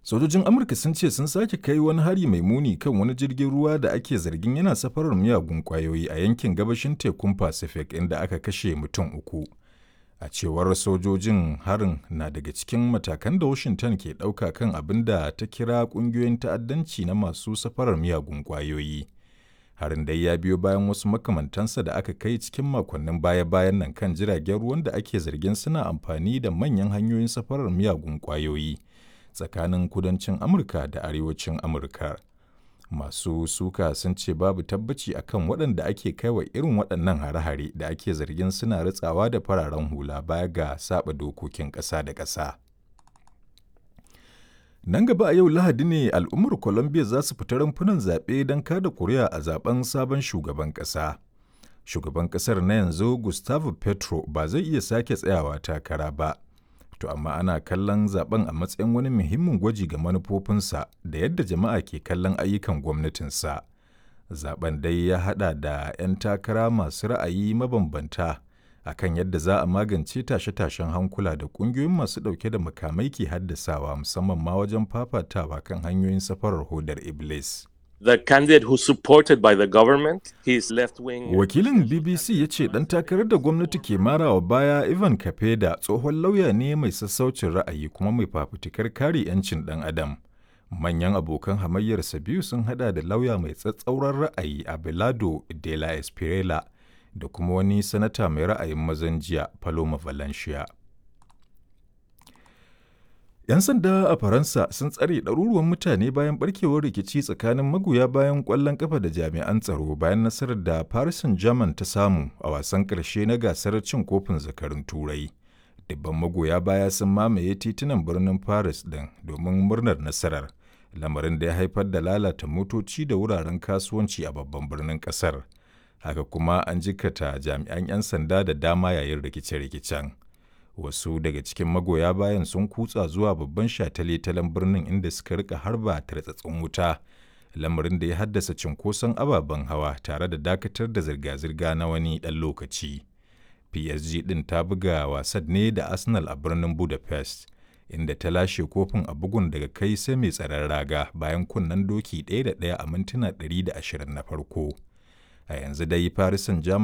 Sojojin Amurka sun ce sun sake kai wani hari mai muni kan wani jirgin ruwa da ake zargin yana safarar miyagun kwayoyi a yankin gabashin tekun Pacific, inda aka kashe mutum 3. A cewar sojojin, harin na daga cikin matakan da Washington ke ɗauka kan abin da ta kira ƙungiyoyin ta'addanci na masu safarar miyagun kwayoyi. Harin dai ya biyo bayan wasu makamantansa da aka kai cikin makonnin baya-bayan nan kan jiragen ruwan da ake zargin suna amfani da manyan hanyoyin safarar miyagun kwayoyi tsakanin kudancin Amurka da arewacin Amurka. Masu suka sun ce babu tabbaci akan waɗanda ake kaiwa irin waɗannan hare-hare da ake zargin suna ritsawa da fararen hula baya ga saba dokokin ƙasa da ƙasa. Nan gaba a yau Lahadi ne al'ummar Colombia za su fita rumfunan zaɓe don kada kuri'a a zaben sabon shugaban ƙasa. Shugaban ƙasar na yanzu, Gustavo Petro, ba zai iya sake tsayawa takara ba. To amma ana kallon zaben a matsayin wani muhimmin gwaji ga manufofinsa da yadda jama'a ke kallon ayyukan gwamnatinsa. Zaben dai ya haɗa da 'yan takara masu ra'ayi mabambanta akan yadda za a magance tashe-tashen hankula da ƙungiyoyin masu ɗauke da makamai ke haddasawa, musamman ma wajen fafatawa kan hanyoyin safarar hodar Iblis. The candidate who's supported by the government, his left wing. Wakilin BBC ya ce ɗan takarar da gwamnati ke marawa baya, Ivan Kapeda, tsohon lauya ne mai sassaucin ra'ayi kuma mai fafutukar kare 'yancin ɗan adam. Manyan abokan hamayyarsa biyu sun hada da lauya mai tsatsauran ra'ayi Abelardo de la Espriella da kuma wani sanata mai ra'ayin mazan jiya, Paloma Valencia. 'Yan sanda a Faransa sun tsare ɗaruruwan mutane bayan barkewar rikici tsakanin magoya bayan ƙwallon ƙafa da jami'an tsaro bayan nasarar da Paris Saint-Germain ta samu a wasan ƙarshe na gasar cin kofin zakarun Turai. Dubban magoya baya sun mamaye titunan birnin Paris ɗin domin murnar nasarar, lamarin da ya haifar da lalata motoci da wuraren kasuwanci a babban birnin ƙasar. Haka kuma an jikkata jami'an 'yan sanda da dama yayin rikice-rikicen. Wasu daga cikin magoya bayan sun kutsa zuwa babban shataletalen birnin, inda suka rika harba tartsatsin wuta, lamarin da ya haddasa cunkoson ababen hawa tare da dakatar da zirga-zirga na wani ɗan lokaci. PSG ɗin ta buga wasan ne da Arsenal a birnin Budapest, inda ta lashe kofin a bugun daga kai sai mai tsaron raga bayan kunnen doki 1 da 1 a mintuna 120 na farko. A yanzu dai Paris Saint-Germain